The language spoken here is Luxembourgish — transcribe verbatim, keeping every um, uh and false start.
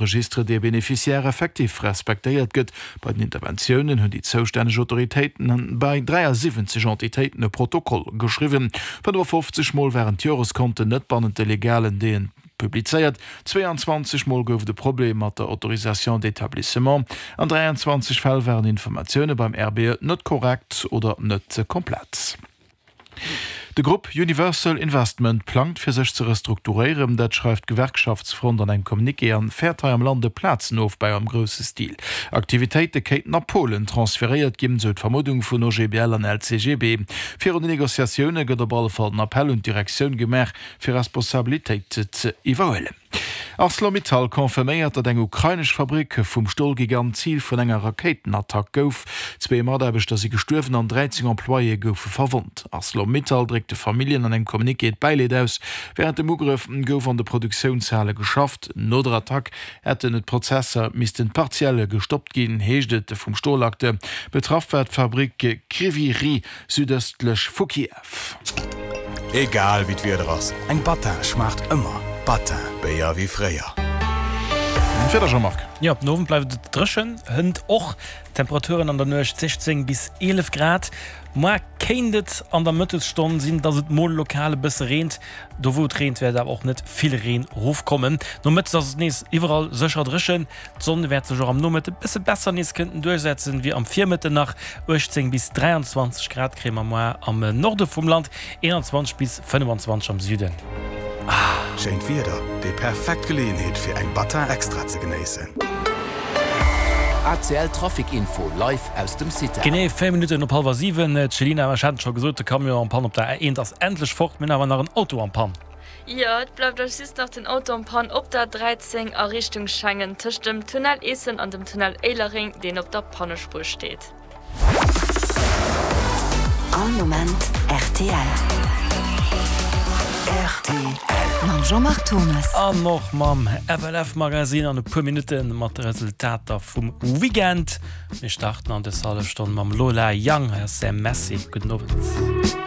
Registre des bénéficiaires effectifs respektéiert gëtt. Bei den Interventiounen hunn déi zoustänneg Autoritéiten bei dräiasiwwenzeg Entitéiten e Protokoll geschriwwen. fënnefafofzeg Mol waren d'Joreskonten net bannent de legalen Délaië publizéiert, zweeanzwanzeg Mol gouf et e Problem mat der Autorisation d'établissement, an dräianzwanzeg Fäll waren Informatioune beim R B E net korrekt oder net komplett. De Grupp Universal Investment plangt fir sech ze restrukturéieren, dat schreift d'Gewerkschaftsfront an engem Communiqué an fäert hei am Land e Plazenofbau am grousse Stil. Aktivitéite kéinten a Polen transferéiert ginn, sou d'Vermuddung vun O G B L an L C G B. Virun den Negociatioune gëtt op alle Fall den Appell un d'Direktioun gemaach, fir Responsabilitéit ze iwwerhuelen. ArcelorMittal confirméiert, datt eng ukrainesch Fabrick vum Stolgigant Zil vun enger Rakéitenattack gouf. Zwee Mataarbechter si gestuerwen an dräizéng Employéë goufe verwonnt. ArcelorMittal dréckt de Familljen an engem Communiqué d'Bäileed aus. Wärend dem Ugrëff gouf an de Produktiounshale geschafft. No der Attack hätten d'Prozesser missten partiell gestoppt ginn, heescht et vum Stolacteur. Betraff war d'Fabrick Kryvyi Rih südëstlech vu Kiew. Egal wéi d'Wieder ass, eng Battin schmaacht ëmmer. Battin, Béier wéi fréier. Wieder Jean-Marc. Jo, den Owend bleift et dréchen, hënt och Temperaturen an der Nuecht siechzéng bis eelef Grad. Muer kéint et an der Mëttesstonn sinn, dass et mol lokal e bësse reent. Do wou et reent, wäert awer och net vill Reen erofkommen. Nomëttes ass et nees iwwerall sécher dréchen. D'Sonn wäert sech och am Nomëtte bësse besser nees kënnten duerchsetzen wéi am Virmëtten nach. uechtzéng bis dräianzwanzeg Grad kréie mer muer am Norde vum Land, eenanzwanzeg bis fënnefanzwanzeg am Süden. Schéint Wieder, déi perfekt Geleeënheet fir eng Battin Extra ze genéissen. A C L Trafic Info live aus dem CITAR. Genee véier Minutten op hallwer siwen. D'Chelina, ech hat et scho gesot, de Camion en panne op der A eent ass endlech fort. Mir hunn awer nach en Auto en panne. Jo, et bleift eis just nach den Auto en panne op der dräizéng a Richtung Schengen, tëscht dem Tunnel Eessen an dem Tunnel Éilereng, deen op der Pannespuer steet. All Moment R T L. R T L. Mam Jean-Marc Thomas. An och mam F L F Magazine an e puer Minutte mat de Resultater vum Weekend. Mir starten an dës hallef Stonn mam Lola Young. Hei ass Sam Messi. Gudden Owend.